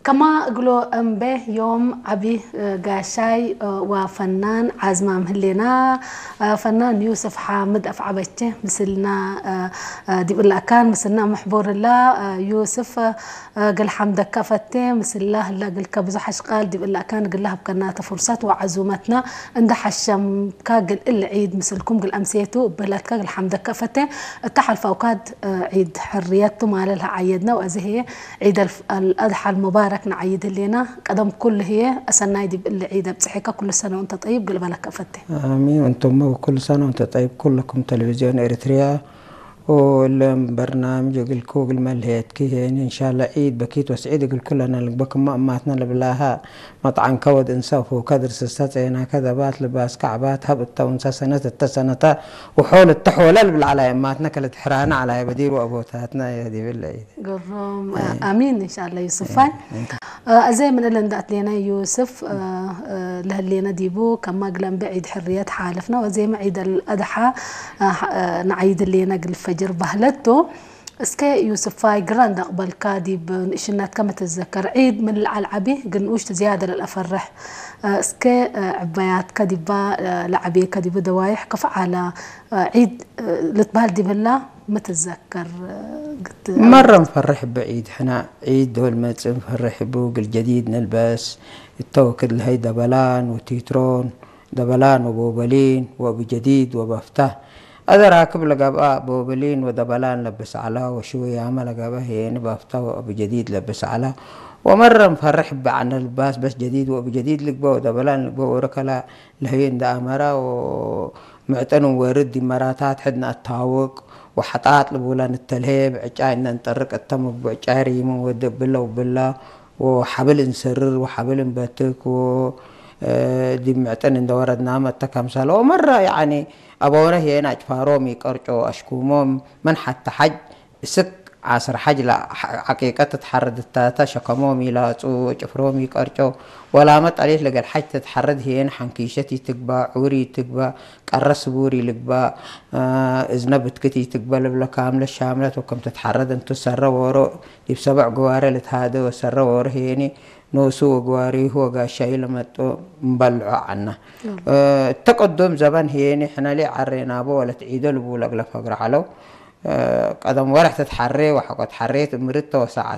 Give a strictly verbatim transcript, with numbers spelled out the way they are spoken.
ከማ እግሎ እምቤ ዮም ዐቢ ጋሻይ ወፈናን ዓዝማም ህሌና፣ ፈናን ዩስፍ ሓምድ አፍዐበቼ ምስልና ዲብ እለ አካን ምስልና መሕቡር እላ። ዩስፍ፣ እግል ሐምደከ ፈቴ፣ ምስላ ህለ እግልከ ብዙሕ አሽቃል ዲብ እለ አካን እግል ለሀብከናተ ፍርሰት ወዐዙመትና እንደ ሐሸምካ እግል እሊ ዒድ ምስልኩም እግል አምሴቱ እበለትከ እግል ሐምደከ ፈቴ። እተ ሐልፋውካድ ዒድ ሕርየት ቱ ማለ ለዐየድነ ወአዜ ህዬ ዒድ አልፍ-፣ አልአድሓ አልሙባረክ ነዐይድ ህሌና። ቀደም ኩሉ ህዬ አሰናይ ዲብ እሊ ዒድ አብጽሐከ፣ ኩሉ ሰነ ወእንተ ጠይብ እግል እበለከ ፈቴ። አሚን። ወእንቱመ ወኩሉ ሰነ ወእንተ ጠይብ ኩልኩም ተለቪዝዮን ኤሪትርያ። ወእለም በርናምጅ እግልኩ እግል መልሄትኪ ሄኒ፣ እንሻላ ዒድ በኪት ወስዒድ እግል ኩለነ ልግበ። ክመ እማትነ ልብላሃ፣ መጥዓንከ ወድ እንሰ፣ አፉከ ድርስ እሰ፣ ጼናከ ደባት፣ ልባስከ ዐባት፣ ሀብ እተ ውንሰ ሰነት እተ ሰነተ፣ ወሖል እተ ሖለ ልብል ዐላይ እማትነ፣ ከልትሕራነ ዐላይ በዲር ወአቦታትነ ዲብል ዒድ። ግሩም። አይ። አሚን እንሻላ ዩሱፋይ። አይ። አዜ ምን እለ እንደ አትሌነ ዩስፍ፣ ለህሌነ ዲቡ ከማ እግለ እምቤ ዒድ ሕርየት ሓልፍነ ወአዜመ ዒድ አልአድሓ ነዐይድ ህሌነ እግል ፈጅር በህለት ቱ። እስከ ዩስፋይ ግረ እንደ አቅበልካ ዲብ ንእሽነትከ ሚ ትዘከር? ዒድ ምን ለዐል ዐቢ እግል ንኡሽቱ ዝያደ ለልአፈርሕ። እስከ ዕበያትከ ዲባ ለዐቤከ ዲቡ ደዋይሕ ከፍ ዐለ ዒድ ልትበህል ዲብ ህላ ሚ ትዘከር? ግት መረ እንፈርሕ እበ ዒድ ሕነ፣ ዒድ ዶል መጽእ እንፈርሕ እቡ፣ እግል ጀዲድ ንልበስ። እተ ወክድ ለሀይ ደበላን ወቲትሮን፣ ደበላን ወቦበሊን ወእቡ ጀዲድ ወበፍታ። አዜ ራክብ ለገብአ ቦበሊን ወደበላን ለብስ ዐለ፣ ወሽውያመ ለገብአ ህዬኒ በፍታ ወእቡ ጀዲድ ለብስ ዐለ። ወመረ እንፈርሕ እበ ዐነ ልባስ በስ ጀዲድ ወእቡ ጀዲድ ልግበእ ወደበላን ልግበእ ወርክ ለህይ እንደ አመረ ወ ምዕጥን እንወርድ ዲብ መራታት ሕድ ነአታውቅ ወሐጣጥ ልቡለ ንተልሄ፣ ብዕጫይ እነ እንጠርቅ እተ ምን ብዕጫይ ሪም እንወዴ እብለ ወብላ ወሐብል እንሰርር ወሐብል እንበትክ ወ፣ እ፣ ዲብ ምዕጥን እንደ ወረድናመ እተ ከምሰለ ወመረ፣ ያኒ፣ አበውረ ህዬን አጭፋሮም ኢቀርጮ አሽኩሞም ምን ሐተ ሐጅ እስክ ዓስር ሐጅ ለዐቂቀት ትትሐረድ እታተ ሸከሞም ኢላጹ ወጭፍሮም ኢቀርጨው። ወላመ ጠሊት ለገል ሐጅ ትትሐረድ ህዬን ሐንኪሸት ኢትግባእ፣ ዑር ኢትግባእ፣ ቀረ ስቡር ኢልግባእ፣ እዝነ ብትክት ኢትግበእ ልብለ ካምለት ሻምለት ወክም ትትሐረድ እንቱ ሰረ ዎሮ ዲብ ሰበዕ ግዋሬ ልትሃደ ወሰረ ዎሮ ህዬኒ ኖሱ ወግዋሬሁ ወጋሻዩ ለመጦ እምበልዖ ዐና። እተ ቅዱም ዘበን ህዬኒ ሕነ ሌ ዐሬናቦ ወለት ዒዶ ልቡለ እግለ ፈግረ ዐለው። ቀደም ወርሕ ትትሐሬ ወሐቆ ተሐሬት እምርተ ወሰዓት